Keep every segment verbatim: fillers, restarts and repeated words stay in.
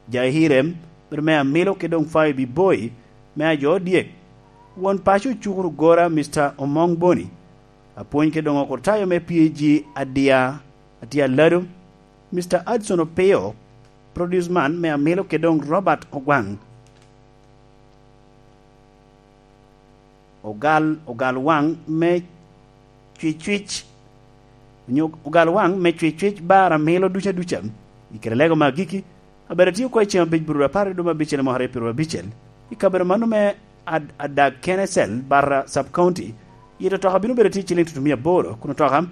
Jahirem, bedo me Amilo kede doŋ Fayo Biboi, me ajo odyek. Won paco ocukuru gora, Mister Omong Boni. Apwony kede doŋ okurtayo me P A G Adia, Atia Lado, Mister Adson Opio, produce man me Amilo kede doŋ Robert Ogwaŋ. Ogal, ogal waŋ me cwicwic, onyo ogal waŋ me cwicwic bar Amilo duca duca. I kare lego me agikki, abedo atio oko i ceng abic bururu apar i dwe me abicel i mwaka aryo pyeraryo abicel, i kabedo mano me Ad-, Adag Kenesel, Barra Sub County. Yito otoka bino bedo tye i ciliŋ tutumia aboro, kun otoka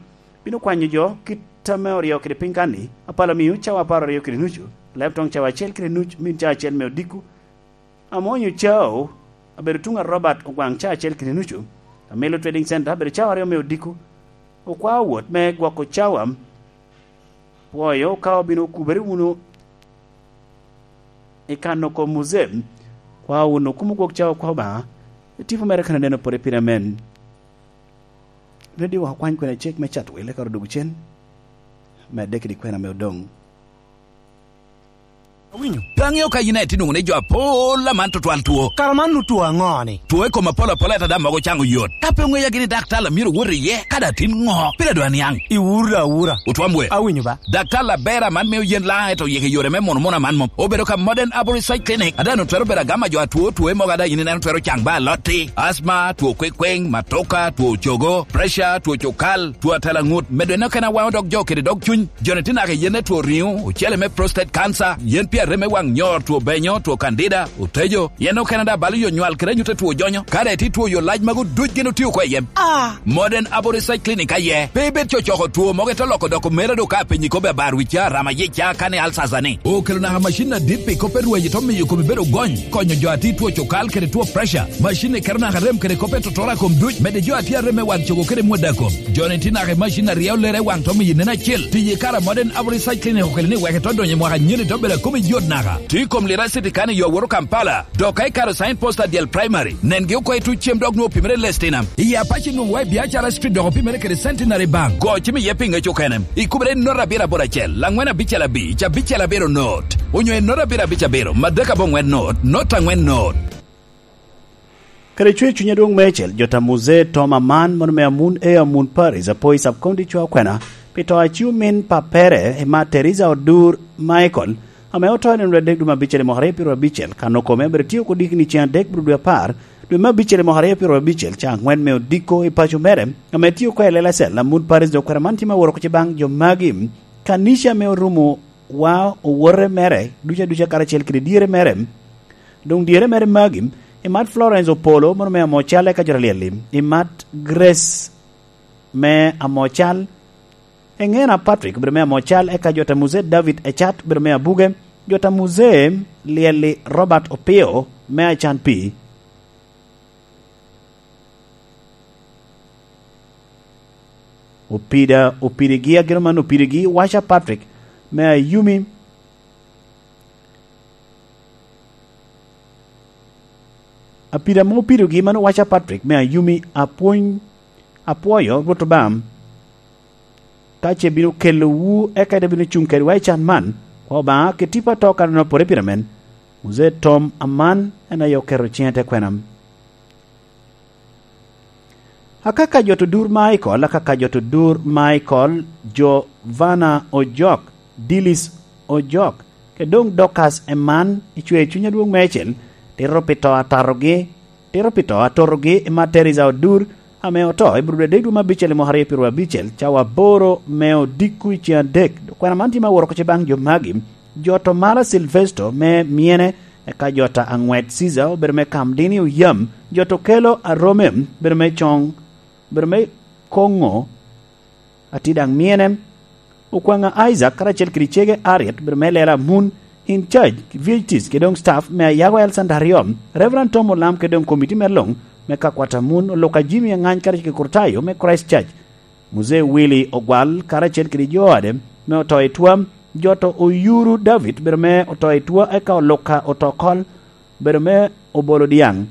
bino kwanyo jo kit ame oryo kede piny kan-ni, apala miu cawa apar aryo kede nucu, leb toŋ cawa acel kede nuc, min cawa acel me odiko, Amwonyo cao, abedo tuŋ a Robert Ogwaŋ ca acel kede nucu, Amilo Trading Center, abedo cao aryo me odiko, okwao wot me gwoko cawa. Pwoyo ka obino okubere wunu i kano kom muzem, kwao wunu kumo gwok cawa kwa Obaŋa, i tipo mere kan aneno pwod i pire amen. Radio wa okwany kwene cek me Chatwil, eka odogo cen, medde kede kwena me odoŋ. Awinyo. Pe aŋeo ka yin aye tye nwoŋo ni jo apol aman tutwal two. Kara man nu two aŋo-ni? Two i kom apol apola, ento daŋ mogo caŋ oyot. Ka pe oŋeya gini daktar a myero owot iye, ka daŋ tin ŋo? Pire dwa niaŋ. Iwuro da awura. Otwam wer. Awinyo ba. Daktar aber aman mio yen laŋ, ento yeke yore me muno muno aman mom. Obedo ka Modern Arborist Side Clinic, a daŋ otwero bedo agama jo atwo, two mogo a daŋ yin ineno twero caŋ ba alotti, asma, two kwekweŋ, matoka, two cogo, pressure, two cukal, two atela ŋut, medo en okene awaŋo dog jo kede dog cuny. Joni tye naka i yen me two riŋo, ocele me prostate cancer, yen pi arem me waŋ nyor, two benyo, two candida, otejo, yen okene daŋ balo yo nywal kede anyut a two jonyo. Ka daŋ itye two yo lac magu duc gin otio oko i yem. Ah! Modern Abori Side Clinic aye. Pe ibed cocoko two mogo ite loko doko mera do ka apenyi kobbe abar wicca, rama yicca, kani alsasa ni. Okelo naka macin adit pi kop me rwaci to miyo kome bedo gony, konyo jo a tye two cukal kede two pressure. Macin ni keto naka rem kede kop me totora kom duc, medde jo a tye arem me waŋ cogo kede mwada kom. Joni tye naka i macin a ryeo lere i waŋ to miyo nen acel. Tiyo i kare a Modern Abori Side Clinic okelo ni wek ito donyo i mwaka anyen ito bedo a kome yot naka. Tye i kom Lira City kan i yo awoto Kampala. Dok ka ikaro sign post adyel primary, nengi oko i tuc cem dok nwoŋo opimere i Lestinam. I Apac nwoŋo wa i Biacara Street dok opimere kede Centenary Bank. Go cim iye pi ŋec okene. Ikubere i note abiro aboro acel, angwen abicel abic, abicel abiro note, onyo i note abiro abic abiro, madek aboŋwen note, note angwen note. Kede cwer cuny adwoŋ meicel, jota Muzee Tom Aman, mono me Amun Ea Amun Paris, apo i Sub County Cwa Okwena, pi to a ci omin pappere, i mat Teresa Odur Michael, ame oto i nino adek dwe me abicel i mwaka aryo pyeraryo abicel, kan okome abedo tye oko dikni ceŋ adek bro dwe apar, dwe me abicel i mwaka aryo pyeraryo abicel, ca angwen me odiko i paco mere, ame tye oko i Lelacel, Amun Paris dok kwena man tye me woro oko ci baŋ jo magi, kanica ame orumo wa owote mere, duca duca karacel kede dyere mere, doŋ dyere mere magi, i mat Florence Opolo, mono me Amocal eka jo ta Lyel-li, i mat Grace me Amocal, Eŋena Patrick, obedo me Amocal, eka jo ta Muzee David Ecat, obedo me Abuge, jo ta Muzee Lyel-li Robert Opio, me Acan Pii. Opida, opidigi, ageno man opidigi, Waca Patrick, me Ayumi, Apida mo pidogi man owaco a Patrick me Ayumi, apwony, apwoyo Rwot Obaŋa, ka ce bino kelowu eka ite bino cuŋ kedwa i can man, kwa Obaŋa kede tipo ato kan onopore pire men. Muzee Tom Aman en aye oketo ciŋe te kwena. Akaka jot odur Michael, akaka jot odur Michael, Jovana Ojok, Dilis Ojok, kede doŋ Dorcas Eman, icweo cuny adwoŋ meicel, tito pi to atatogi, tito pi to atotogi i mat Teresa Odur, ame oto i Burudu adek dwe me abicel i mwaka aryo pyeraryo abicel, cawa aboro me odiko i ceŋ adek. Kwena man tye me aworo oko ce baŋ jo magi, jot Omala Silvesto me Myene, eka jot Aŋwet Ciza obedo me Kamdini Oyam, jot Okelo Arome obedo me Coŋ, obedo me Koŋo, Ati daŋ Myene, Okwaŋa Isaac karacel kede cege Ariet obedo me Lela Amun, in charge, V H Ts kede doŋ staff me Ayago Health Center aryo, Reverend Tom Olam kede doŋ komiti me luŋ me kakwat Amun, Oluka Jimmy Aŋany karacel kede Kurtayo me Christ Church, Muzee Willy Ogwal karacel kede jo ode me oto i twam, jot Oyuru David obedo me oto i twa, eka Oluka Otokol obedo me obolo dyaŋ.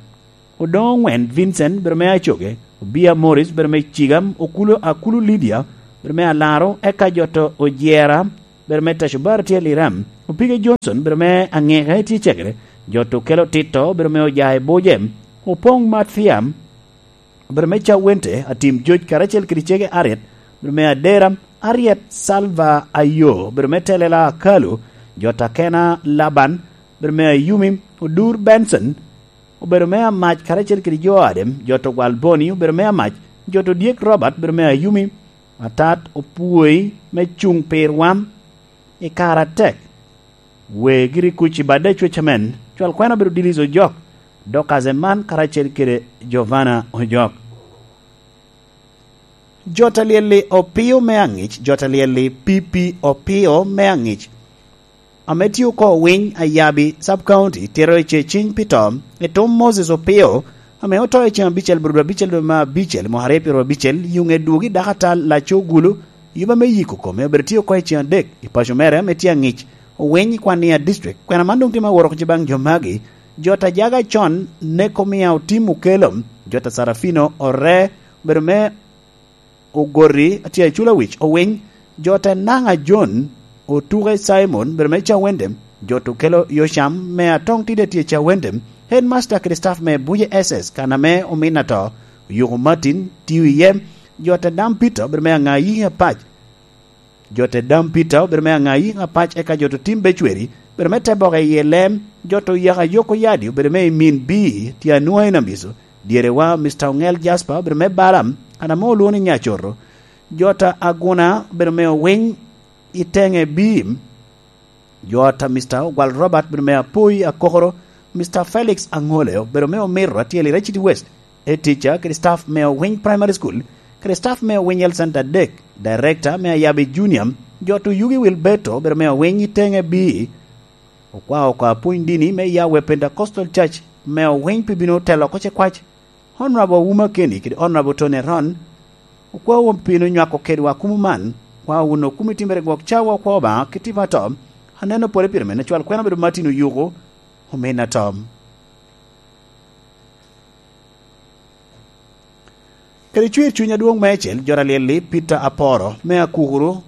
Odoŋo Oŋwen Vincent obedo me Acoge, Obia Morris obedo me Cigam, Okulu, Akulu Lydia obedo me Alaro, eka jot Ojera bedo me Tacubar tye Liram, Opige Johnson bedo me Aŋika tye Cegere, Jot Okelo Tito bedo me Ojae Boje, Opoŋ Mathiam bedo me Cawente, Atim Joc karacel kede Cege Ariet bedo me Adera, Ariet Salva Ayo bedo me Telela Akalu, Jot Akena Laban bedo me Ayumi, Odur Benson obedo me Amac karacel kede jo ade, Jot Ogwal Boni obedo me Amac, Jot Odyek Robert bedo me Ayumi, Atat Opwoi me Cuŋ Pir Wam i kare atek. Wee giri kuc i bade Cwec Amen, cwal kwena obedo Dilis Ojok, Dorcas Eman karacel kede Jovana Ojok. Jot Alyel-li Opio me Aŋic, Jot Alyel-li P P Opio me Aŋic, ame tio oko Owiny Ayabi Sub County, tito i ce ciny pi to, i tum Moses Opio, ame oto i ceŋ abicel, bur abicel dwe me abicel, mwaka aryo pyero abicel, yuŋe dwogo i dako atal Laco Gulu, yuba me yiko kome obedo tye oko i ceŋ adek i paco mere ame tye aŋic, Owiny i Kwania District. Kwena man doŋ tye me woro oko baŋ jo magi, Jot Ajaga con, Neko Mia Otim Okelo, Jot Sarafino Ore, obedo me Ogoti, atye acula wic, Owiny, Jot Enaŋa John, Otuke Simon, bedo me Cawende, Jot Okelo Yocam, me Atong Tide tye Cawende, Headmaster kede staff me Buje S S, kan ame omin ato, Oyuko Martin, tio iye, Jot Adam Peter, bedo me Aŋayi Apac, Jot Adam Peter, bedo me Aŋayi Apac, eka Jot Otim Becweri, bedo me Teboke i Elem, Jot Oyaka Yoko Yadi, obedo me i Min Bii, tye Anua i Namiso, Dyerewa Mister Oŋel Jasper, obedo me Balaam, kan ame olwoŋo ni Nyacoto, Jot Aguna, obedo me Owiny i Teŋe Biim, Jot Mister Ogwal Robert, obedo me Apoi Akokoro, Mister Felix Aŋole, obedo me Omiro, atye i Iraciti West, Etica kede staff me Owiny Primary School, kede staff me Owiny Health Center adek, Director me Ayabi Junior, Jot Oyugi Wilberto, obedo me Owiny i Teŋe Bii, okwao oko apwony dini me Yahweh Pentecostal Church me Owiny pi bino telo oko ce kwac, Honorable Wuma Kenny kede Honorable Tony Aron, okwao wun pi bino nywako kedwa kumo man, okwao wun okumo i timmere gwok cawa okwa Obaŋa kit tipo ato, aneno pole pire mene cwal kwena obedo Martin Oyuko, omin ato. Kede cwer cuny adwoŋ meicel, Jot Alyel-li Peter Aporo, me Akukuru,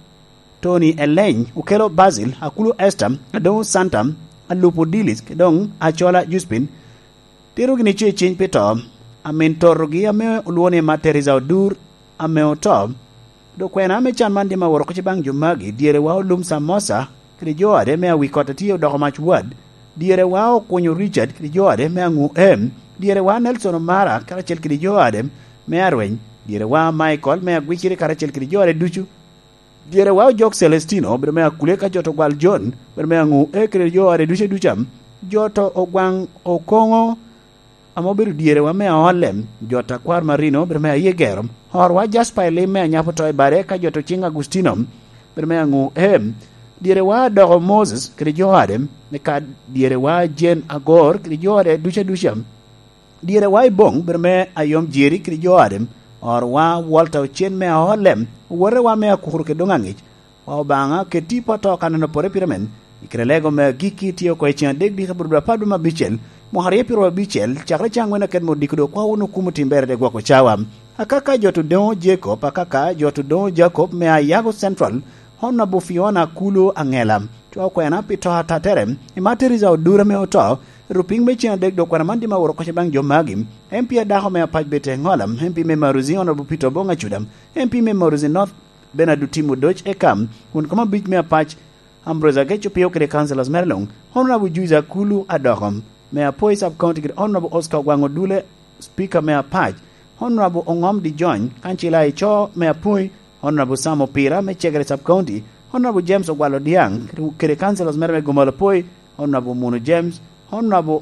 Tony Eleny, Okelo Basil, Akulu Esther, Adoŋo Santa, Alupo Dilis, kede doŋ Acola Juspin, tito gini ce ciny pi to, amin totogi ame olwoŋo ni Mama Teresa Odur, ame oto. Dok kwena ame can man dim aworo oko ce baŋ jo magi, dyerewa Olum Samosa kede jo ade me Awikot a tye odoko mac wad, dyerewa Okunyo Richard kede jo ade me Aŋu Em, dyerewa Nelson Omara karacel kede jo ade me Arweny, dyerewa Michael me Agwiciri karacel kede jo ade ducu, dyerewa Ojok Celestino, obedo me Akule ka Jot Ogwal John, obedo me Aŋu E kede jo ade ducu aduca, Jot Ogwaŋ Okoŋo, ame obedo dyerewa me Aolem, Jot Akwar Marino, obedo me Ayegero, Horwa Jasper Elim me Anyapo to i bade, ka Jot Ociŋ Agustino, obedo me Aŋu Em, dyerewa Adoko Moses kede jo ade, me ka dyerewa Jen Agor kede jo ade ducu aduca, dyerewa Iboŋ, obedo me Ayom Jeri kede jo ade, Horwa Walter Ocen me Aolem, owotewa me Akukuru kede doŋ Aŋic, Obaŋa, ket tipo ato kan en opore pire men, i kare lego me agikki tye oko i ceŋ adek diki bur dwe apar dwe me abicel, mwaka aryo pyero abicel, cakere caŋ wen aket me odiko dok kwa wun okumo tim bere de gwoko cawa. Akaka Jot Odoŋo Jacob, akaka Jot Odoŋo Jacob me Ayago Central, Honorable Fiona Kulu Aŋela, cwa okwena pi to atatere, i Mama Teresa Odura me oto, rupiny me ceŋ adek dok kwena man dim aworo koce baŋ jo magi, M P adako me Apac Bete Ŋola, M P me Maruzi Honorable Peter Oboŋ Acuda, M P me Maruzi North, Bernard Otim Odoc eka, won kom abic me Apac, Ambrose Agec Opio kede councillors mere luŋ, Honorable Juice Akulu Adoko, me Apoi Sub County kede Honorable Oscar Ogwaŋ Odule, Speaker me Apac, Honorable Oŋom Dijony, kancila i co me Apoi, Honorable Sam Opira me Cegere Sub County, Honorable James Ogwal Odiaŋ kede, kede councillors mere me Gomol Apoi, Honorable Munu James, Honorable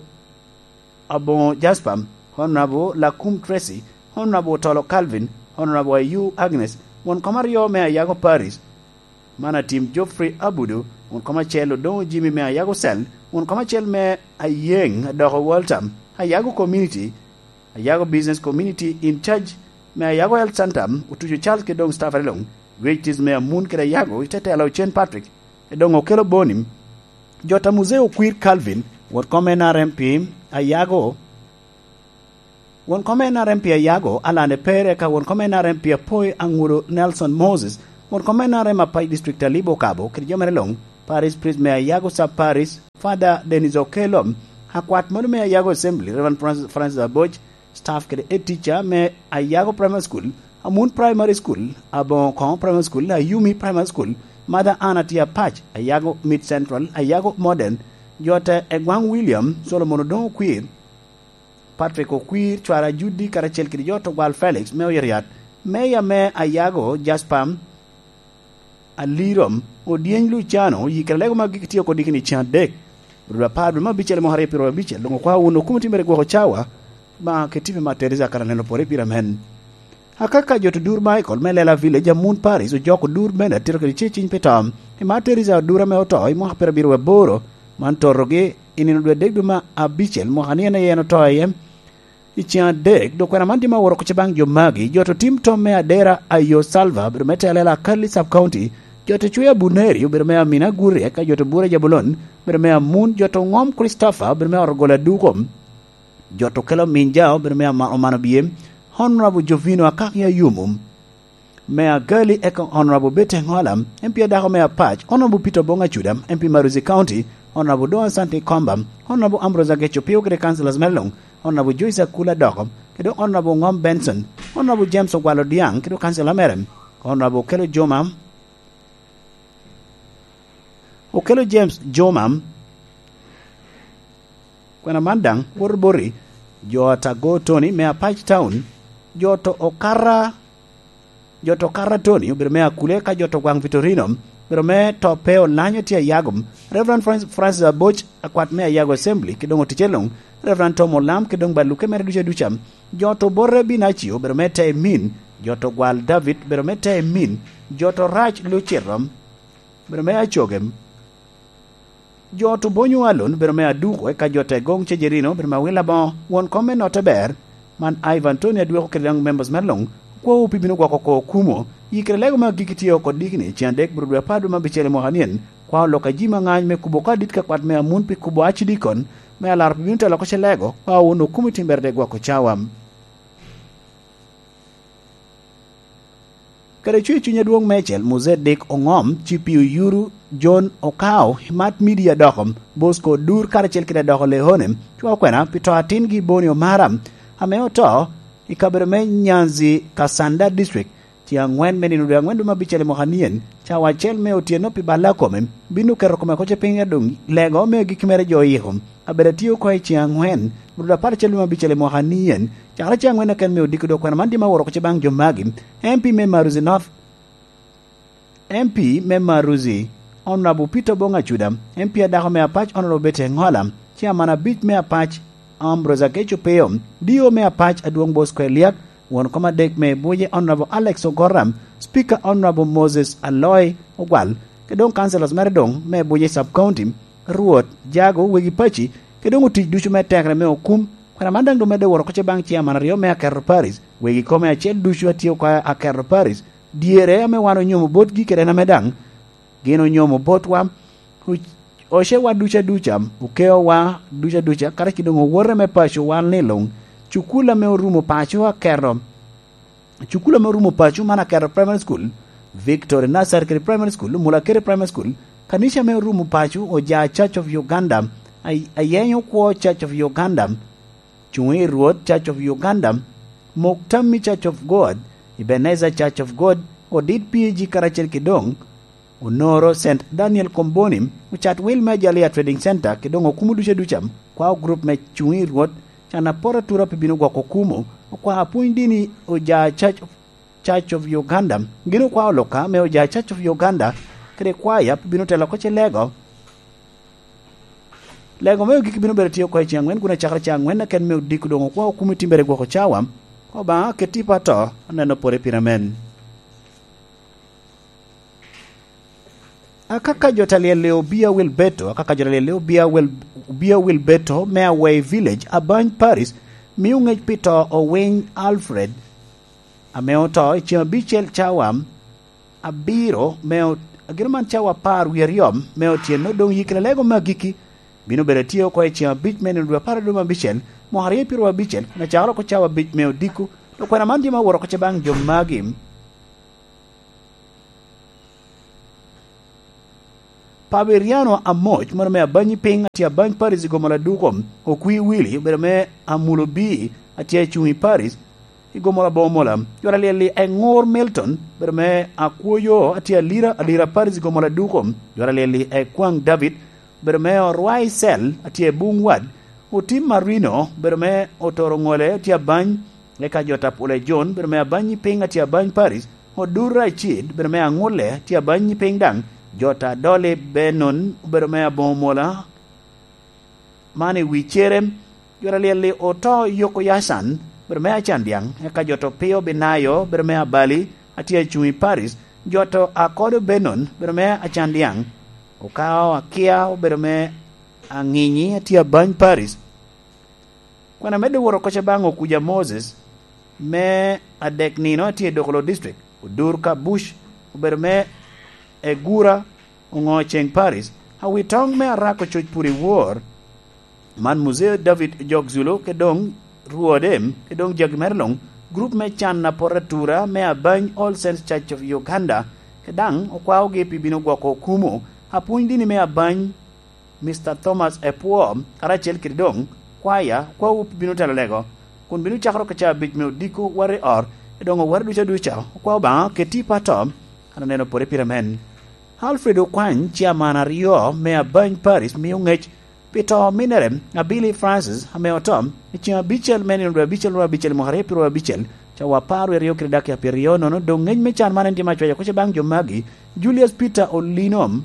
Aboŋo Jasper, Honorable Lakum Tracy, Honorable Otolo Calvin, Honorable Ayu Agnes, won kom aryo me Ayago Parish, man Atim Geoffrey Abudu, won kom acel Odoŋo Jimmy me Ayago Cell, won kom acel me Ayeŋ Adoko Walter, Ayago Community, Ayago Business Community in charge me Ayago Health Center, Otuco Charles kede doŋ staff are luŋ, Great Tis me Amun kede Ayago, i te tela Ocen Patrick, kede doŋ Okelo Boni, Jot a Muzee Okwir Calvin, wot kom N R M P Ayago, won kom N R M P Ayago, Alan Epere, ka won kom N R M P Apoi Aŋudo Nelson Moses, Won kom me N R M Apac District, Talibo Okabo, kede jo mere luŋ, Parish Priest me Ayago Sub Parish, Father Dennis Okello, akwat mano me Ayago Assembly, Reverend Francis, Francis Aboc, staff kede head teacher me Ayago Primary School, Amun Primary School, Aboŋo Koŋo Primary School, Ayumi Primary School, Mother Anna Apac, Ayago Mid Central, Ayago Modern, jo te Egwaŋ William, Solomon Odoŋo Okwir, Patrick Okwir, Cwara Judy, karacel kede jo Togwal Felix me Oyeriat, Meya me Ayago, Jasper Alirom, Odyeny Luciano, oyikere lego ma gik tye oko diki ni cen adek, ruu apar dwe me abicel mwaka aryo piro abicel, doŋ okwao wun okumo timere gwoko cawa, ma ke tipe ma Teresa kara neno pore pire amen. Akaka jo Tudur Michael me Lela Village, Amun Paris, ojoko dur bene atito kede ceciny pi to. I Mar Teresa Odur ame oto i mwaka piro abiro aboro, man torogi i nino dwe adek dwe me abicel mwaka ni en aye en oto iye. I cen adek, dok kwena man tye ma oworo kuca baŋ jo magi, jo to tim tom me Adera Ayo Salva, obedo me telo Lela Akali Sub County, jo to cweyo Abuneri, obedo me Amina Gurye, ka jo to bura Jabulon, obedo me Amun, jo to ŋom Christopher, obedo me Orogola Duko, jo to kelo Minja, obedo me Ama-, Omano Bie, Honorable Jovino Akaki Ayumu, me Agali, eka Honorable Betty Engola, M P adako me Apac, Honorable Peter Obong Acuda, M P Maruzi County, Honorable Don Asante Komba, Honorable Ambrose Ageco Pio kede councillors mere luŋ, Honorable Joyce Akula Doko, kede Honorable Ngom Benson, Honorable James Ogwal Odiaŋ kede councillor mere, Honorable Okelo Joma, Okelo James Joma, kwena man daŋ woto boti, jo Atago Tony me Apac Town, jo to Okara, jo to Okara Tony obedo me Akule, ka jo to Gwaŋ Vitorino obedo me to pe Olanyo tye Ayago, Reverend Francis, Francis Aboc, akwat me Ayago Assembly, ki doŋ oticce luŋ, Reverend Tom Olam, ki doŋ baluke mere duca duca, jo to Obote Binacio obedo me te Emin, jo to Gwal David obedo me te Emin, jo to Rac Lucito obedo me Acogem, jo to Bonyo Alon obedo me Aduko, eka jo te Goŋ Cejerino obedo me Awil Aboŋo, won kom me Notte Ber, man Ivan Tony Adweko kede daŋ members mere luŋ, okwawu pi bino gwoko oko okumo, yikere lego me agikki tye oko dikni, cen adek bro dwe apar dwe me abicel i mwaka nien, kwa olok a ji ma ŋany me kubo oko adit ka kwat me Amun pi kubo acidikon, me alaro pi bino telo oko ce lego, kwa wun okumo i timbere de gwoko cawa. Kede cwer cuny adwoŋ meicel, Muzedek Oŋom, Cipi Oyuru, John Okao, Mat Media Doko, Bosco Odur, karacel kede Adoko Leone, cwa okwena pi to atingi Boni Omara, ame oto i kabedo me Nyanzi, Kasanda District, tye aŋwen me nino dwe aŋwen dwe me abicel i mwaka nien, cawa acel me otyeno pi balla kome, bino keto kome koce piny doŋ lego me agikki mere jo oyiko. Abedo atye oko i cen aŋwen, ruu apar acel me abicel i mwaka nien, cakere cen aŋwen keken me odiko dok kwena man tye ma oworo kuca baŋ jo magi, M P me Maruzi North, M P me Maruzi, Honorable Peter Obong Acuda, M P adako me Apac, Honorable Betty Engola, Chairman abic me Apac, Ambrose Ageco Peo, D O me Apac, Adwoŋ Bosco Eliak, won kom adek me Buje, Honorable Alex Ogora, Speaker, Honorable Moses Aloy Ogwal, ke doŋ councillors mere doŋ me Buje Sub County, Rwot, jago, wegi paci, ke doŋ otic ducu me tekere me okum. Kwena man daŋ doŋ medde woro kuca baŋ chairman aryo me Akerro Parish, wegi kome acel ducu a tye oko Akerro Parish, dyere ame wan onyomo botgi kede en ame daŋ gin onyomo botwa, oc-, ocewa duca duca, okeowa duca duca, karacel doŋ owote me paco wan ni luŋ, cukul ame orumo paco Akerro, cukul ame orumo paco man Akerro Primary School, Victory Nursery kede Primary School, Mulakere Primary School, kanica ame orumo paco Oja Church of Uganda, Ay-, Ayenyo Kwo Church of Uganda, Cuŋ i Rwot Church of Uganda, Muktammi Church of God, Ebenezer Church of God, Odit P A G karacel ki doŋ, Onoro Saint Daniel Komboni, Ocat Wil me Ajalia Trading Center, ki doŋ okumo duca duca, kwao group me Cuŋ i Rwot, can apor atura pi bino gwoko okumo, okwao apwony dini Oja Church of, Church of Uganda, gin okwao luka me Oja Church of Uganda, kede kwaya pi bino telo oko ce lego. Lego me ogik bino bedo tye oko i cen aŋwen, kun acakere cen aŋwen keken me odiko doŋ okwa okum i timbere gwoko cawa. Obaŋa ket tipo ato, aneno pore pire amen. Akaka jo ta lyel Obia Wilberto, akaka jo ta lyel Obia Wil-, Obia Wilberto me Awei Village, Abany Paris, mio ŋec pi to Owiny Alfred, ame oto i cen abicel cawa abiro me o-, agino man cawa apar wie aryo me otyeno, doŋ yikere lego me agikki bino bedo atye oko i cen abic me nino dwe apar adwoŋ abicel, mwaka aryo piro abicel, kun acakere oko cawa abic me odiko, dok kwena man tye ma oworo oko ce baŋ jo magi. Paberiano Amoc, mano me Abany i Piny, atye Abany Paris i Gomola Duko. Okwi Willy, obedo me Amulo B, atye acuŋ i Paris i Gomola Bomola. Jwara Lyelli Eŋur Milton, obedo me Akwoyo, atye Alira, Alira Paris i Gomola Duko. Jwara Lyelli Ekwaŋ David, obedo me Orwai Cell, atye Buŋ Wad. Otim Marino, obedo me Otoro Ŋole, atye Abany. Eka jo ta Pule John, bedo me Abany i Piny, atye Abany Paris. Odur Racid, bedo me Aŋulle, atye Abany i Piny daŋ. Jo ta Doli Benon, obedo me Aboŋo Mola, man i wi Cerem. Jo ta Lyelli Oto Yoko Yacan, bedo me Acandiaŋ. Eka jo ta Opio Binayo, bedo me Abali, atye acuŋ i Paris. Jo ta Akodo Benon, bedo me Acandiaŋ. Okao Akia, obedo me Aŋinyi, atye Abany Paris. Kwena medde wot oko ca baŋ Okuja Moses, me adek nino atye i Dokolo District, Odur Kabuc, obedo me Egura, Oŋo Ceŋ Paris, Awitoŋ me Arako Coc Pur i Wor, man Muzee David Jok Zulu, ke doŋ rwode, ke doŋ jagi mere luŋ, gurup me can a poto atura me Abany All Saints Church of Uganda, ke daŋ okwaogi pi bino gwoko okumo apwony dini me Abany, Mister Thomas Epwo, karacel kede doŋ kwaya, okwaowu pi bino telo lego, kun bino cakere oko ca abic me odiko ware ot, i doŋ oware ducu aduca, okwao Obaŋa keti i pato, an aneno pwode pire men. Alfred Okwany, ciaman aryo me Abany Paris, mio ŋec pi to ominere, Abili Francis, ame oto i ceŋ abicel me nino dwe abicel, nino abicel, mwaka aryo pyeraryo abicel, cawa apar wie aryo kede dakika pyeraryo nono, doŋ ŋec me can man en tye me acwaca kuca baŋ jo magi, Julius Peter Olinom,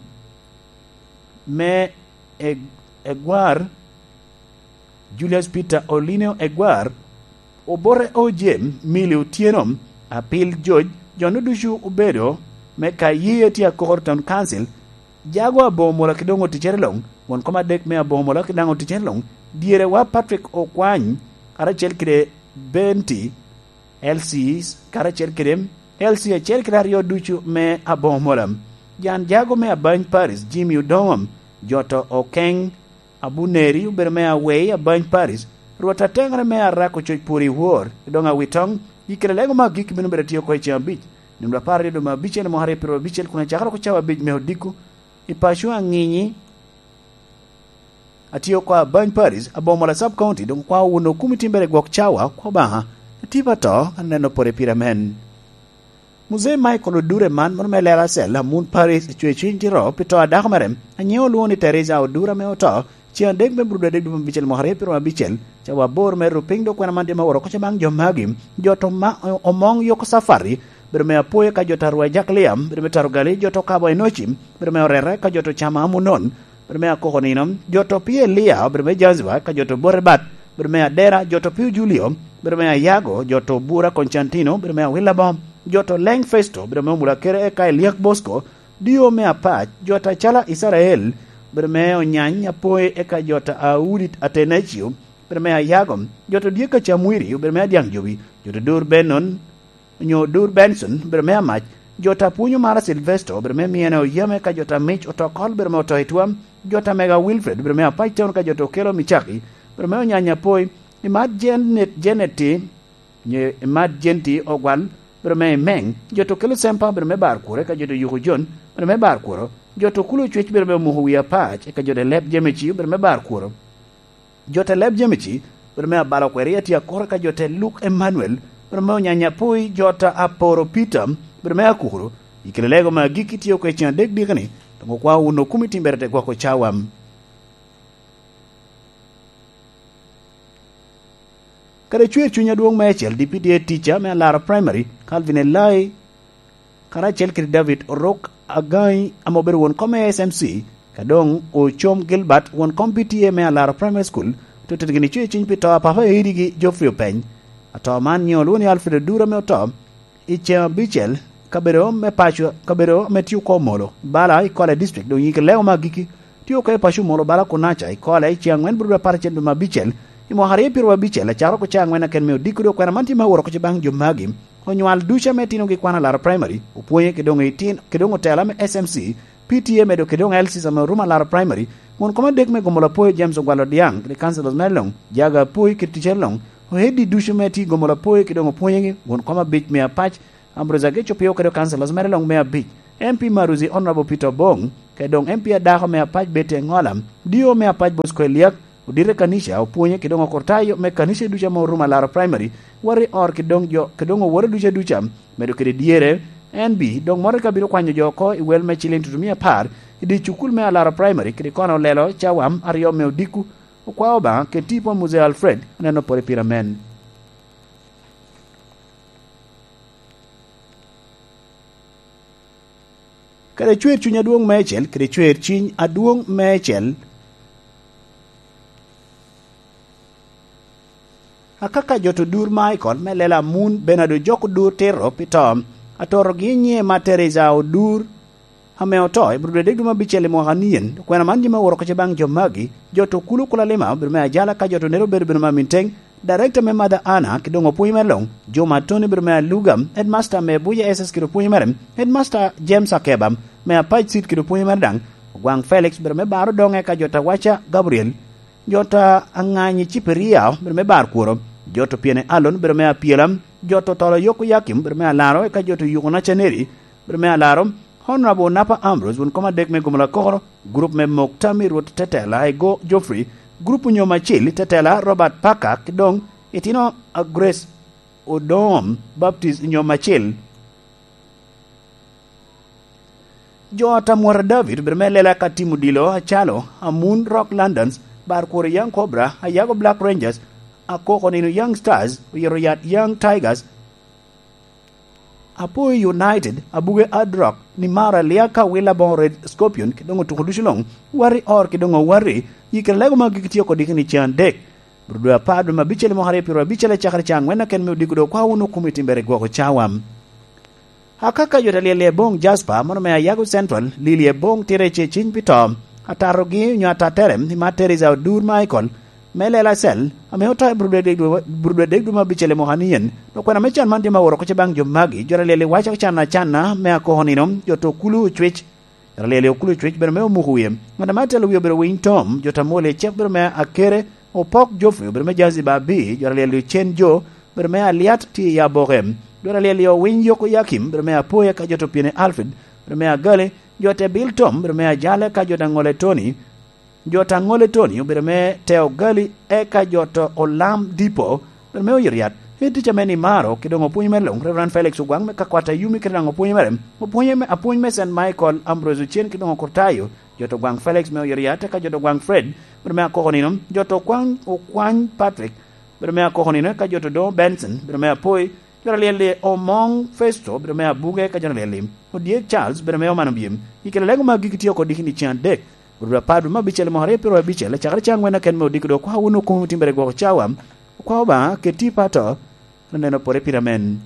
me Eg-, Egwar, Julius Peter Olino Egwar, Obote Ojem, Mili Otyeno, Apil George, jo-nu ducu obedo me ka ye tye Akokoro Town Council, Jago Aboŋo Mola kede doŋ oticere luŋ, won kom adek me Aboŋo Mola kede daŋ oticere luŋ, dyere wa Patrick Okwany, karacel kede Benti, L Cs, karacel kede L C acel kede aryo ducu me Aboŋo Mola. Jan Jago me Abany Paris, Jimmy Odoŋo, jo to Okeŋ, Abuneri, obedo me Awei, Abany Paris, Rwot Ateŋere me Arako Coc Pur i Wor, i doŋ Awitoŋ, i kede lego me agikki bino bedo atye oko i ceŋ abic, nino apar aryo dwe me abicel, mwaka aryo pyeraryo abicel, kun acakere oko cawa abic me odiko, i paco Aŋinyi, atye oko Abany Paris, Aboŋo Mola Sub County, doŋ okwao wun okumi timbere i gwok cawa, kwa Obaŋa, atipa to, aneno pore pire amen. Muzee Michael Odure man, mano me Lela Cell, Amun Paris, ecwe cwiny tiro pi to a dako mere, a nyiŋe olwoŋo ni Teresa Odure ame oto, ceŋ adek me Burudu adek dwe me abicel mwaka aryo pyeraryo abicel, cawa aboro me ru piny dok kwena man tye me oro koca baŋ jo magi, jo to ma, Omoŋ Yoko Safari, bedo me Apoyo ka jo ta Rwa Jaklia, bedo me Tarugali, jo to Kabo Enoci, bedo me Orere ka jo to Cama Amunon, bedo me Akoko Nino, jo to pi Elia, bedo me Jaziba ka jo to Bote Bat, bedo me Adera, jo to pi Julio, bedo me Ayago, jo to Bura Koncantino, bedo me Awila Bom, jo to Leng Festo, bedo me Omula Kere eka Eliak Bosco, dio me Apac, jo ta Cala Isarael, bedo me Onyany Apoy eka jo ta Audi Atenacio, bedo me Ayago, jo to Dieka Camwiri, bedo me Adiaŋ Jobi, jo to Dur Benon, onyo Dur Benson, bedo me Amac, jo ta Pwonyo Mara Silvesto, bedo me Miene Oyeme eka jo ta Mic Otokol, bedo me Otoitwa, jo ta Mega Wilfred, bedo me Apac Town ka jo to Kelo Micaki, bedo me Onyany Apoy, Imat Janet, Janet ti, Nye Imat Jenti Ogwal, bedo me Imeng, jo to Kelo Sempa, bedo me Bar Kuro, eka jo to Yuko Jon, bedo me Bar Kuro, jo to Kulo Cwec, bedo me Omuko Wi Apac, eka jo to Leb Jemeci, bedo me Bar Kuro, jo to Leb Jemeci, bedo me Abalo Kweri, atye Akoro, eka jo to Luk Emmanuel, bedo me Onyanya Poi, jo to Aporo Peter, bedo me Akuro, i kelo lego me agikki tye oko i ceŋ adek dikeni, doŋ okwao wun okumi timbere te gwoko cawa. Kadi cwer cuny adwoŋ meicel, D P D A teacher me Alara Primary, Calvin Elai, karacel kede David Orok Agai, ame obedo won kom me S M C, ka doŋ Ocom Gilbert, won kom P T A me Alara Primary School, otettigi ni cwer cuny pi to a papa Eidigi Geoffrey Openy. Ato man nyiŋe olwoŋo ni Alfred Odura ame oto, i ceŋ abicel, kabedo me paco, kabedo ame tye oko Omolo, Bala, i Kwale District, doŋ yike lego me agikki, tye oko i paco Omolo, Bala, Kunaca, i Kwale, i ceŋ aŋwen Burudu apar acel dwe me abicel, i mwaka aryo pyeraryo abicel, acakere oko cawa aŋwen aken me odiko, dok kwena man tye me aworo oko baŋ jo magi. Onywal ducu ame itinogi kwan Alara Primary, opwonye kede doŋ itin-, kede doŋ otela me S M C, P T A medo kede doŋ L Cs ame orumo Alara Primary, won kom adek me Gomola Apoyo James Ogwal Odiaŋ, kede councillors mere luŋ, Jaga Apoyo kede ticere luŋ, ohead ducu me tye i Gomola Apoyo kede doŋ opwonyegi, won kom abic me Apac, Ambrose Ageco Pio kede councillors mere luŋ me abic, M P Maruzi Honorable Peter Obong, kede doŋ M P adako me apac Betty Engola, D O me apac Bosco Eliak, odite kanica, opwonye kede doŋ okurtayo me kanica ducu ame orumo Alaro Primary, wati or kede doŋ jo, kede doŋ owote ducu aduca, medo kede dyere, N B, doŋ motoka bino kwanyo jo oko i wel me ciliŋ tutumia apar, i dye cukul me Alaro Primary, kede kono olelo cawa aryo me odiko, okwao Obaŋa, kede tipo Muzee Alfred, aneno pwod i pira men. Kede cwer cuny adwoŋ meicel, kede cwer cuny adwoŋ meicel. Akaka jo to dur Michael me lela Amun Bernardo jok odur tito pi to. Atorogi nyiŋe ma Teresa odur ame oto i Abril adek dwe me abicel i mwaka nien. Kwena man jami aworo kece baŋ jo magi, jo to kulu Kulalima obedo me ajala ka jo to nero obedo bino ma Minteng, Director me Mother Anna, ki doŋ opwony mere doŋ, Juma Tony obedo me Aluga, Headmaster me Abuja S S kede opwony mere, Headmaster James Akeba, me Apac City kede opwony mere daŋ, Ogwaŋ Felix obedo me Baro doŋe ka jo ta Waca Gabriel, jo ta Aŋanyi Ciperia obedo me Bar Kworo, jo to Pyene Alon obedo me Apyela, jo to Tolo Yoko Yakim obedo me Alaro, eka jo to Yuko Nacaneri obedo me Alaro, Honorable Napa Ambrose, won kom adek me Gomola Kokoro, gurup me Mok Tammy Rwot Tetela, Ego Geoffrey, gurup Onyom Acil Tetela, Robert Parker, ki doŋ itino a Grace Odom Baptist Onyom Acil. Jo Tamwota David obedo me lela ka Tim Odilo, Acalo, Amun Rock Londons, Bar Kworo Young Cobra, Ayago Black Rangers, Akoko Nino Young Stars, Oyero Yat Young Tigers, Apoi United, Abuge Hard Rock, Nimaro Aliaka, Willa Boŋo Red Scorpion, ki doŋ otuko ducu luŋ, wati or ki doŋ owati, yi kede lego ma gik tye oko diki ni can dek. Bro dwe apar dwe me abicel i mwaka aryo pyero abicel acakere ca aŋwen aken me odiko do kwa wunu kumi timbere gwoko cawa. Akaka jo ta lyel i Eboŋ Jasper, mono me Ayago Central, lili Eboŋ tire ce ciny pi to, atatogi onyo atatere, i Matt Teresa Odur Michael, me lela cel, ame oto i Burudwe dek dwe, Burudwe dek dwe me abicel i mwaka ni en. Dok kwena me can man tye ma woro kuca baŋ jo magi, jo ta lyel i waca can acanna, me akoko nino, jo to kulu ocwec, jo ta lyel i okulu ocwec, bene me omuko wie. Ŋat ame atelo wie obedo Winy Tom, jo ta mwol i cek obedo me Akere, Opok Geoffrey obedo me Jazi Babi, jo ta lyel i Ocen Jo, obedo me Aliat tye i Aboke. Jo ta lyel i Owiny Yoko Yakim, obedo me Apoya ka jo to Pyene Alfred, obedo me Agali, jo te Bil Tom, obedo me Ajale ka jo ta Ŋole Tony, jo ta Ŋole Tony obedo me Teo Gali, eka jo to Olam Dipo, obedo me Oyiriat. Tic ame ni maro, ki doŋ opwony me luŋ, Reverend Felix Ogwaŋ me Kakwata Yumi, ki doŋ opwony mere, opwony me, apwony me Saint Michael, Ambrose Ocen, ki doŋ Okurtayo, jo to Gwaŋ Felix me Oyiriat, eka jo to Gwaŋ Fred, obedo me Akoko Nino, jo to Okwaŋ, Okwany Patrick, obedo me Akoko Nino, eka jo to Doŋo Benson, obedo me Apoi, jo ta lyel i Omoŋ Festo, obedo me Abuge, eka jo ta lyel i Odyek Charles, obedo me Oman Obyem. I kela lego ma gigi tye oko diki ni cen adek. Obedo apar dwe me abicel, mwaka aryo pyero abicel, acakere ca aŋwen aken me odiko do kwa wunu kumi timbere gwoko cawa. Okwa Obaŋa, keti pato, aneno pore pira men.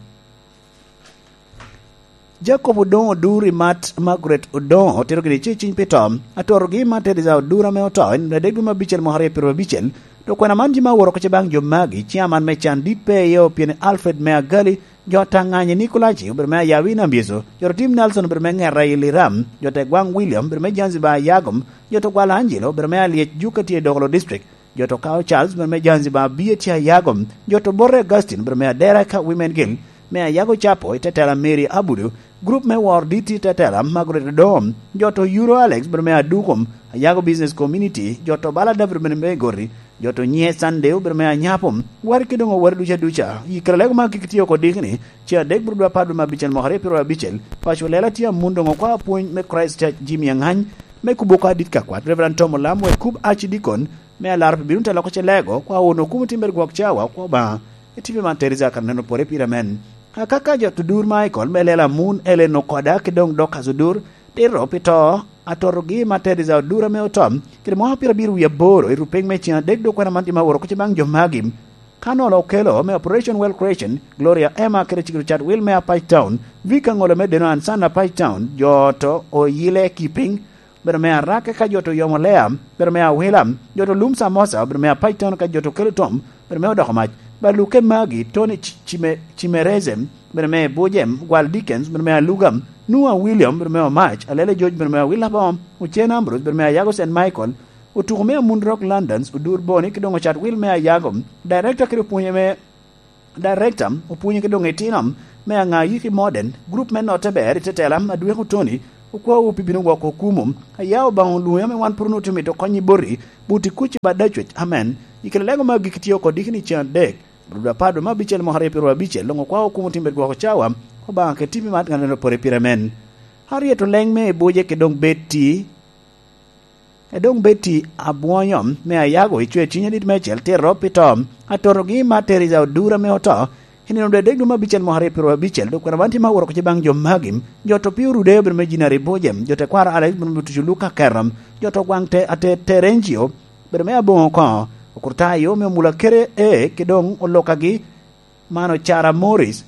Jacob Odoŋo Odur i Mat Margaret Odoŋo otito gini ce ciny pi to. Atorogi i Mat Teresa Odur ame oto i nino adek dwe me abicel mwaka aryo pyero abicel. Dok kwena man jami aworo kuca baŋ jo magi, ciaman me can dit pe iye Opyeni Alfred me Agali, jo ta Ŋanyi Nikolaci obedo me Ayawi Nambyeco, jo to Tim Nelson obedo me Ŋera i Liram, jo ta Egwaŋ William obedo me Zanzibar Ayagom, jo to Gwala Angelo obedo me Alyec Juka tye i Dokolo District, jo to Kao Charles obedo me Zanzibar Abie tye Ayagom, jo to Bote Augustine obedo me Adera ka Women Guild, me Ayago Chapo i tetela Mary Abudu, gurup me Wor Diti tetela Margaret Odom, jo to Euro Alex obedo me Adukum, Ayago Business Community, jo to Bala David obedo me Gori, jo to Nye Sunday obedo me Anyapo, wari ki doŋ owari duca duca, i kare lego ma gigi tye oko diki ni, ce adek bro dwe apar dwe me abicel mwaka aryo pyero abicel, paco lela tye amun doŋ okwa apwony me Christ Church Jimmy Angany, me kubo oko adit ka kwat, Reverend Tom Olam, wek kub Archdeacon, me alar pi bino te loko ce lego, kwa wunu kumo timbere gwok cawa, kwa Obaŋa, i tipi man Teresa kan neno pore pire men. Akaka jo to Odur Michael, me lela Amun Ellen Okoda, ki doŋ Dorcas Odur, tito pi to, atotogi ma Teresa Odur ame oto, kede mwaka pyero abiro wie aboro, i rupeny me cen adek dok kwena man tye ma woro kuca baŋ jo magi. Ka nolo okelo me Operation Well Creation, Gloria Emma kede Cikito Chatwil me Apac Town, Vic Aŋolo me Deno Ansan Apac Town, jo to oyile ki piny, obedo me Arake ka jo to yomo Lea, obedo me Awila, jo to lum Samosa, obedo me Apac Town ka jo to kelo tom, obedo me odoko mac, Baluke Magi, Tony Ci-, Cime-, Cimereze, obedo me Bujem, Gwal Dickens, obedo me Aluga, Nua William, obedo me Omac, Alele George, obedo me Awila Bom, Ocen Ambrose, obedo me Ayago Saint Michael, Otuko me Amun Rock Londons, Odur Boni, ki doŋ Ocat Wil me Ayago, Director kede opwonye me Director, opwonye ki doŋ itino, me aŋa yiki Modern, gurup me Notte Ber i Tetela, Adweko Tony, okwaowu pi bino gwoko okumu. Aya Obaŋa olwoŋi ame wan pwod onwoŋo tye mito kony i boti, buti kuc i bad Dacwec, amen. I kare lego me agikki tye oko diki ni ceŋ adek, rudwa apar dwe me abicel mwaka aryo pyeraryo abicel, doŋ okwao okumu timo gwoko cawa, Obaŋa ket tipi mat ŋat eno pore pire, amen. Harriet Oleŋ me Ebuje kede doŋ Betty, Edoŋ Betty Abwonyo me Ayago icwe cwiny adit meicel tito pi to, atotogi i Matt Teresa Odur ame oto i nino dwe adek dwe me abicel mwaka aryo pyeraryo abicel, dok kwena man tye ma aworo kece baŋ jo magi. Jo to pio Rude obedo me Jinari Buje, jo tekwaro Alex obedo me Tucu Luka Kerom, jo to gwaŋ te, ate, Terencio obedo me Aboŋo Koŋo, Okurtayo me Omula Kere E, ki doŋ olokagi mano Cara Morris.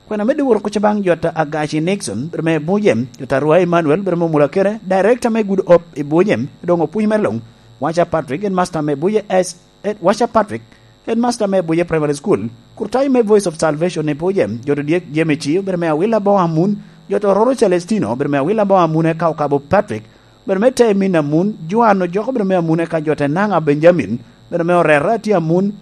Kwena medde woro kuca baŋ jot a Agaci Nixon, bedo me Buje, jot a Rwai Emmanuel, bedo me Omula Kere, Director me Good Hope i Buje, doŋ opwony me luŋ, Wacha Patrick, Headmaster me Buje S, Ed, Wacha Patrick, Headmaster me Buje Primary School, Kurtai me Voice of Salvation i Buje, jot odyek Jemmy Ci, bedo me Awila Boŋ Amun, jot Ororo Celestino, bedo me Awila Boŋ Amun eka Okabo Patrick, bedo me Temin Amun, Joan Ojoko, bedo me Amun eka jot Enanga Benjamin, bedo me Orera Ati Amun,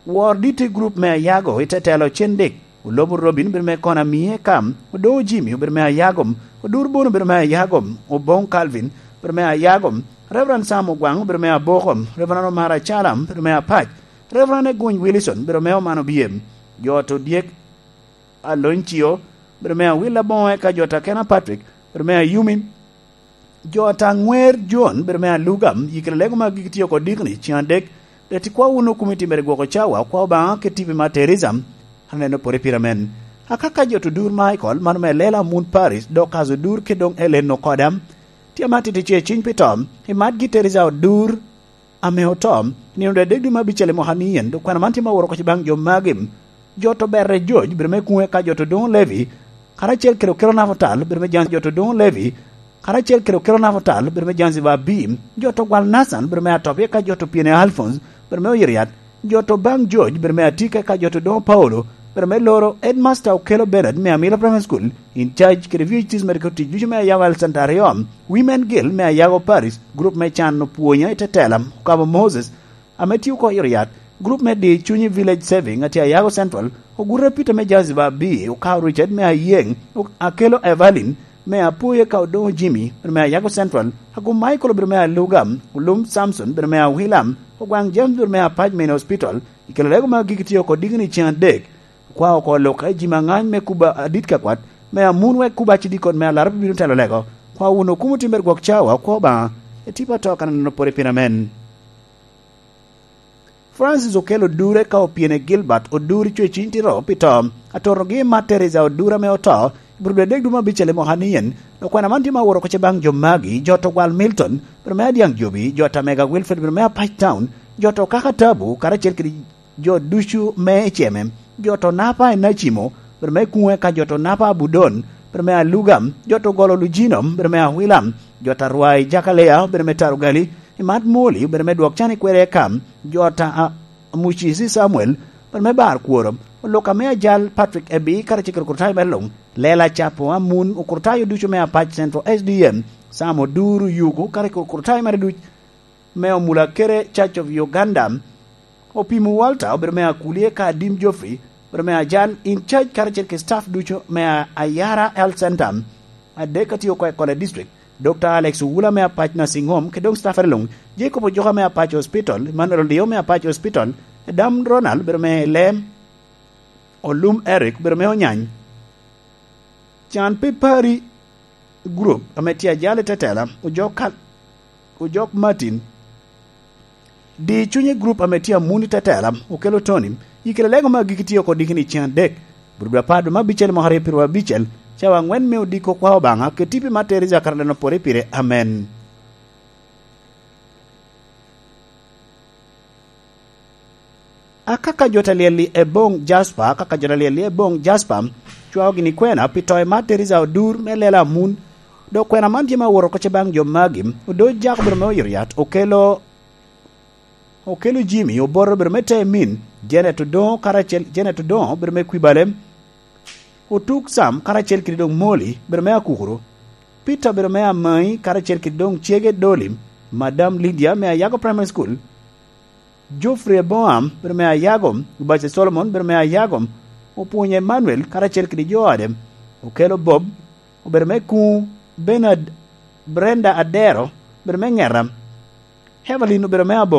Wor dit i gurup me Ayago i tetelo Cendik, Olobo Robin obedo me Kona Mie Kam, Odoŋo Jimmy obedo me Ayagom, Odur Bono obedo me Ayagom, Oboŋ Calvin obedo me Ayagom, Reverend Sam Ogwaŋ obedo me Abokom, Reverend Omar Acalam obedo me Apac, Reverend Eguny Wilson obedo me Omano Biem, jo to dyek Aloncio obedo me Awila Boŋo eka jo ta Kena Patrick obedo me Ayumi, jo ta Ŋwer John obedo me Alugam, yikere lego ma gigi tye oko dikni ceŋ adek, reti kwa wunu kumi timere gwoko cawa, kwa Obaŋa kit tipi ma Teresa, aneno pore pire amen. Akaka jo to dur Michael, mano me Lela Mun Paris, Dorcas Odur ki doŋ Ellen Okoda, tye ma titi ce ciny pi to, i matgi Teresa Odur, ame oto, nino dwe adek dwe me abicel i mwaka ni en, dok kwena man tye ma woro kec baŋ jo magi. Jo to Berre George, bedo me Kuŋe ka jo to Doŋo Levi, karacel kede Okelo Nafotal, bedo me James jo to Doŋo Levi, karacel kede Okelo Nafotal, bedo me James Babi, jo to Gwal Nathan, bedo me Atop, eka jo to Piene Alphonse, bedo me Oyiriat, jo to baŋ George, bedo me Atika, eka jo to Doŋo Paulo, bedo me Loro, Headmaster Okelo Bernard, me Amila Primary School, in charge kede V H Ts me tic ducu me Ayawa Health Center aryo, Women Guild me Ayago Parish, group me Can Opwonya i Tetela, Okabo Moses, ame tye oko i Riyadh, group me Di Cunyi Village Saving a tye Ayago Central, ogurre Peter me Jaziba B, Okao Richard me Ayeŋ, Akelo Evelyn me Apoye ka Odoŋo Jimmy, bedo me Ayago Central, Agum Michael obedo me Aluga, Olum Samson bedo me Awila, Ogwaŋ James bedo me Apac Main Hospital, i kelo lego ma gigi tye oko digni ceŋ adek. Kwa oko aloka i ji ma ŋany me kuba adit ka kwat, me amun wek kuba acidikon me alara bibino telo lego. Kwa wun okumo timere gwok cawa, kwa Obaŋa, etipa to kan aneno pore pien amen. Francis Okello Odure ka opyene Gilbert Odur i cweciny tito pi to, atotogi i mat Teresa Odur ame oto, i bur dwe adek dwe me abicel i mwaka ni en, dok kwena man tye ma woro koce baŋ jo magi, jo to Gwal Milton, bedo me Adiaŋ Jobi, jo ta Mega Wilfred, bedo me Apac Town, jo to Kaka Tabu, karacel kede jo ducu me Eceme, jo to Napa i Nacimo, bedo me Kuŋe ka jo to Napa Abudon, bedo me Aluga, jo to Golo Lujino, bedo me Awila, jo ta Rwai Jakalea, bedo me Tarugali, i mat Moli, bedo me Dwok Can i Kwere Eka, jo ta a-, Amucisi Samuel, bedo me Bar Kworo, Oluka me Ajal Patrick Ebi, karacel kede okurtayo mere luŋ, Lela Capo Amun, okurtayo ducu me Apac Central S D M, Sam Oduru Yuku, karacel kede okurtayo mere duc, me Omulakere Church of Uganda, Opimo Walter obedo me Akulie ka Adim Geoffrey obedo me Ajan in charge karacel ki staff ducu me A-, Ayara Health Center. Adek atye oko i Kole District, Doctor Alex Owula me Apac Nursing Home, ki doŋ staff luŋ, Jacob Ojoka me Apac Hospital, Emmanuel Olio me Apac Hospital, Adam Ronald obedo me Lem, Olum Eric obedo me Onyany. Can pi Pari Group ame tye ajalo i Tetela, Ojok Kal-, Ojok Martin. Di Cunye Group ame tye amun i Tetela, Okelo Tony. Yikere lego me agikki tye oko dikini ceŋ adek, bur dwe apar dwe me abicel mwaka aryo pyeraryo abicel, cawa aŋwen me odiko kwa Obaŋa, keti pi ma Teresa Karaleno pore pire. Amen. Akaka jo ta lyel i Ebong Jasper, akaka jo ta lyel i Ebong Jasper, cwao gini kwena pi to i mat Teresa Odur me Lela Amun. Dok kwena man tye ma woro koce baŋ jo magi, Odoc Jacob obedo me Oyiriat, Okelo, Okelo Jimmy, Oboto obedo me Temin, Janet Odoŋo karacel, Janet Odoŋo obedo me Kwibale, Otuk Sam karacel kede doŋ Moli obedo me Akukuro, Peter obedo me Amai karacel kede doŋ Cege Doli, Madam Lydia me Ayago Primary School, Geoffrey Aboam, bedo me Ayago, Obace Solomon, bedo me Ayago, opwonyo Emmanuel karacel kede jo ode. Okelo Bob, obedo me kuŋ, Bernard, Brenda Adero, obedo me ŋeta, Evelyn obedo me abo.